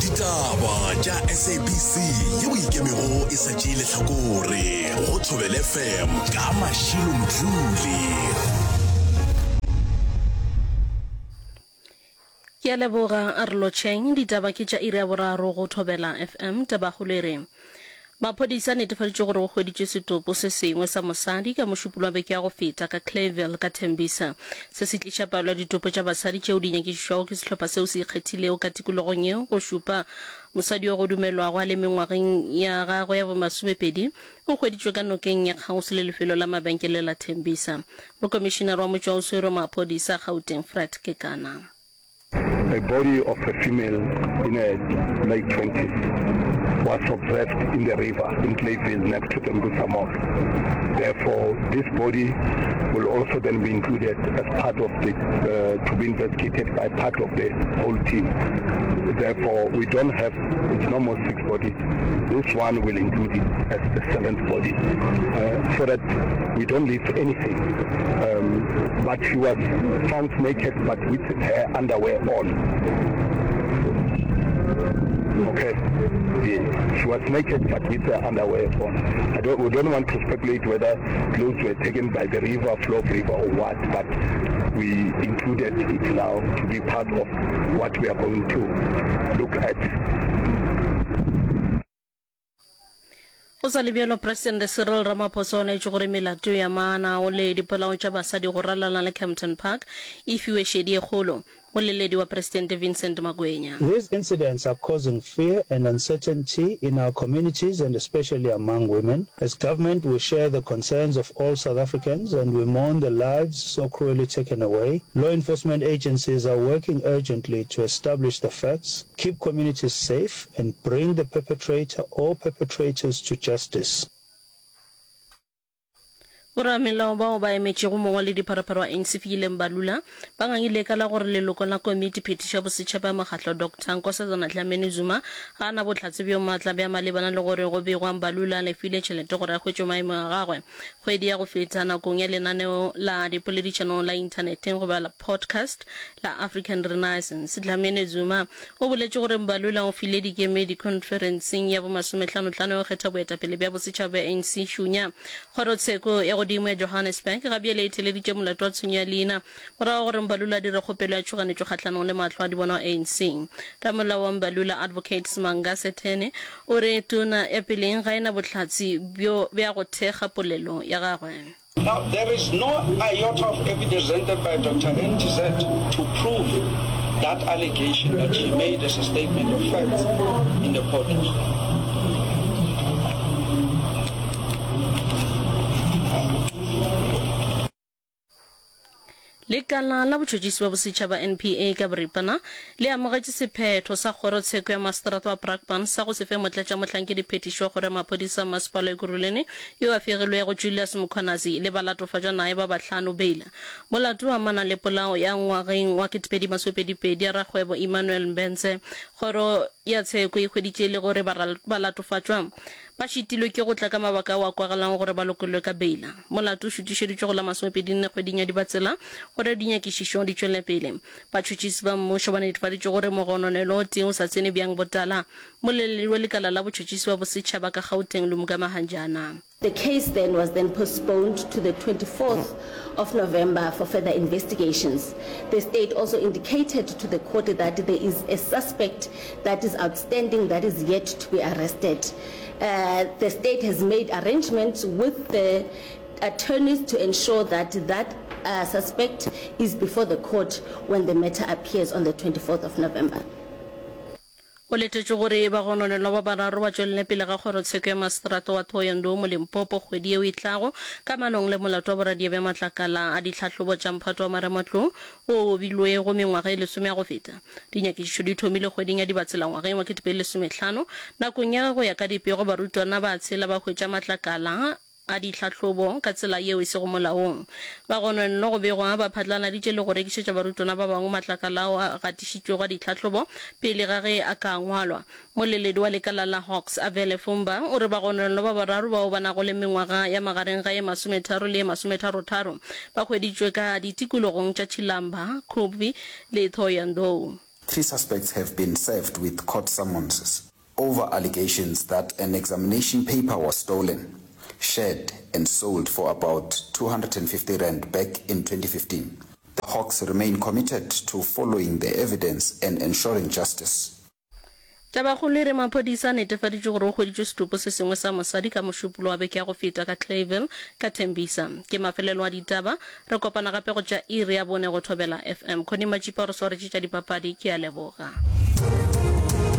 Ditaba tša SABC yeo e ikemego e sa tšee lehlakore go Thobela FM ka Mashilo Mdluli. Ke a leboga, a re lotšheng. Ditaba ke tša iri ya boraro go Thobela FM. Tabakgolo e re, Maphodisa a netefaditše gore go hweditšwe setopo se sengwe sa mosadi ka Mošupologo wa beke ya go feta ka Clayville ka Tembisa. Se se tliša palo ya ditopo tša basadi tšeo di nyakišišwago ke sehlopha seo se ikgethilego ka tikologong yeo go šupa mosadi yo go dumelwago a le mengwageng ya gagwe ya bomasomepedi o hweditšwe ka nokeng ya kgauswi le lefelo la mabenkele la Tembisa. Mokomišinare wa motšwaoswere wa maphodisa Gauteng Fred Kekana. A body of a female in her late twenties was observed in the river in Clayville next to Tembisa Mall. Therefore, this body will also then be included as part of the, uh, to be investigated by part of the whole team. Therefore, we don't have, it's no more six bodies. This one will include it as the seventh body, uh, so that we don't leave anything. Um, but she was found naked, but with her underwear on. Okay. Yeah. She was naked, but with her underwear on. I don't, we don't want to speculate whether clothes were taken by the river, flow of river or what, but we included it now to be part of what we are going to look at. Go sa le bjalo, Presidente Cyril Ramaphosa o laetše gore melato ya maanao le dipolao tša basadi go ralala le Kempton Park e fiwe šedi e kgolo. Moleledi wa Presidente Vincent Magwenya. These incidents are causing fear and uncertainty in our communities and especially among women. As government, we share the concerns of all South Africans and we mourn the lives so cruelly taken away. Law enforcement agencies are working urgently to establish the facts, keep communities safe and bring the perpetrator or perpetrators to justice. Boramelao bao ba emetšego mongwaledipharephare wa ANC Fikile Mbalula ba ngangile ka la gore leloko la komiti phethišo ya bosetšhaba ya mokgatlo Doctor Nkosazana Dlamini Zuma ga a na bohlatse bjo maatla bja malebana le gore go begwa Mbalula a lefile tšhelete gore a hwetšwe maemo a gagwe kgwedi ya go feta nakong ya lenaneo la dipoledišano la inthaneteng goba la podcast la African Renaissance. Dlamini Zuma o boletše gore Mbalula o file dikemedi khonferenseng ya bomasomehlanohlano ya go kgetha boetapele bja bosetšhaba bja ANC Šunya. Kgorotsheko ya godimo ya Johannesburg ga bjale e theleditše molato wa tshenyo ya leina morago ga gore Mbalula a dire kgopelo ya tšhoganetšo kgahlanong le mahlo a di bona wa ANC. Ramolao wa Mbalula, Advocate Smanga Sethene, o re tona ya peleng ga e na bohlatse bjo bja go thekga polelo ya gagwe. Now, there is no iota of evidence presented by Doctor NTZ to prove that allegation that she made as a statement of facts in the court. Lekala la Botšhotšhisi bja Bosetšhaba, NPA, ka boripana le amogetše sephetho sa Kgorotsheko ya Maseterata wa Brakpan sa go se fe motlatšamohlankediphetiši wa Kgoro ya Maphodisa a Masepala wa Ekurhuleni yo a fegilwego Julius Mkhwanazi le balatofatšwa naye ba bahlano beila. Molato o amana le polao ya ngwageng wa 2022 ya rakgwebo Emmanuel Mbense. Kgoro ya tsheko e hweditše e le gore balatofatšwa Ba šitilwe ke go tla ka mabaka ao a kwagalago gore ba lokollwe ka beila. Molato o šutišeditšwe go la masomepedinne kgweding ya Dibatsela gore dinyakišišo di tšwele pele. Batšhotšhisi ba mmušo ba netefaditše gore mogononelwa o tee o sa tsene bjang botala. Mmoleledi wa lekala la botšhotšhisi ba bosetšhaba ka Gauteng Lumka Mahanjana. The case then was then postponed to the 24th of November for further investigations. The state also indicated to the court that there is a suspect that is outstanding that is yet to be arrested. Uh, the state has made arrangements with the attorneys to ensure that that uh, suspect is before the court when the matter appears on the 24th of November. Go letetšwe gore bagononelwa ba bararo ba tšwelele pele ga kgorotsheko ya maseterata wa Thohoyandou mo Limpopo kgwedi yeo e tlago kamanong le molato wa boradia bja matlakala a ditlhahlobo tša mphato wa marematlou wo o obilwego mengwaga e lesome ya go feta. Dinyakišišo di thomile kgweding ya Dibatsela ngwageng wa 2015 nakong ya ge go ya ka dipego barutwana ba tshela ba hwetša matlakala a ditlhahlobo ka tsela yeo e sego molaong. Bagononelwa go begwa ba phatlaladitše le go rekišetša barutwana ba bangwe matlakala ao a gatišitšwego a ditlhahlobo pele ga ge a ka ngwalwa. Moleledi wa lekala la Hawks, Avele Fumba, o re bagononelwa ba bararo bao ba nago le mengwaga ya magareng ga ye masometharo le ye masometharotharo ba hweditšwe ka ditikologong tša Tshilamba, Khubvi le Thohoyandou. Three suspects have been served with court summonses over allegations that an examination paper was stolen, shared and sold for about 250 rand back in 2015. The Hawks remain committed to following the evidence and ensuring justice. Tabakgolo e re maphodisa a netefaditše gore go hweditšwe setopo se sengwe sa mosadi ka Mošupologo wa beke ya go feta ka Clayville ka Tembisa. Ke mafelelo a ditaba. Re kopana gape go tša iri ya bone go Thobela FM. Connie Matšipa o re swaretše tša dipapadi. Ke a leboga.